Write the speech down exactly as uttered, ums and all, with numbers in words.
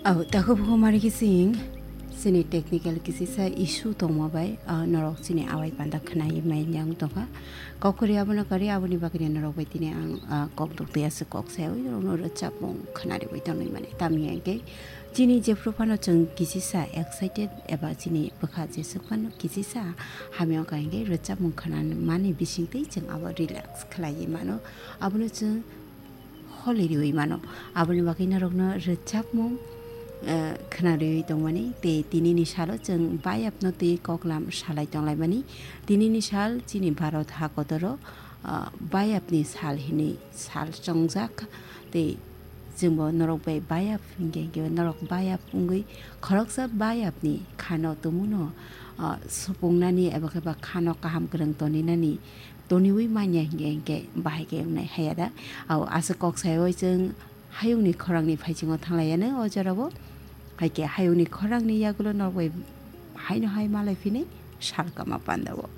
Oh, takhuk bukhuk mari kising, chini technical kisisa issue tongma bai, ah, norok chini awai panda khwnai mai yang tongkha. Kok kwrwi abono kwrwi, aboni bagwino norok bai tini ang, ah, kok duk twi aswk kok sayawi norokno rwchapmung khwnariwi tongwi mani. Tamni hwnkhe chini jephru phano chwng kisisa excited eba chini bwkha jeswk phano kisisa hamya wngkha hwnkhe rwchapmung khwnamani bisingtwi chwng abo relax khwlaiwi mano. Abono chwng holi riwi mano. Aboni bagwi norokno rwchapmung, eh, khwnariwi tongmani tei tinini salo chwng bayapno twi koklam salai tonglaimani. Tinini sal chini Bharat hakotoro, ah, bayapni sal hinwi sal chongjak tei chwngbo norok bai bayap hinkhe, hinkhe norok bayap wngwi khoroksa bayapni khano tumuno, ah, supungnani eba khe ba khano kaham kwrwng toninani toniwi manya hinkhe, hinkhe bahai khe wngnai haya da. Au aswk kok saiwi chwng hayungni khorangni phaisingo thanglaiya no o jorao. Hai khe hayungni khorangni yagulo norok bai haino hai malai phinai sal kama pandao.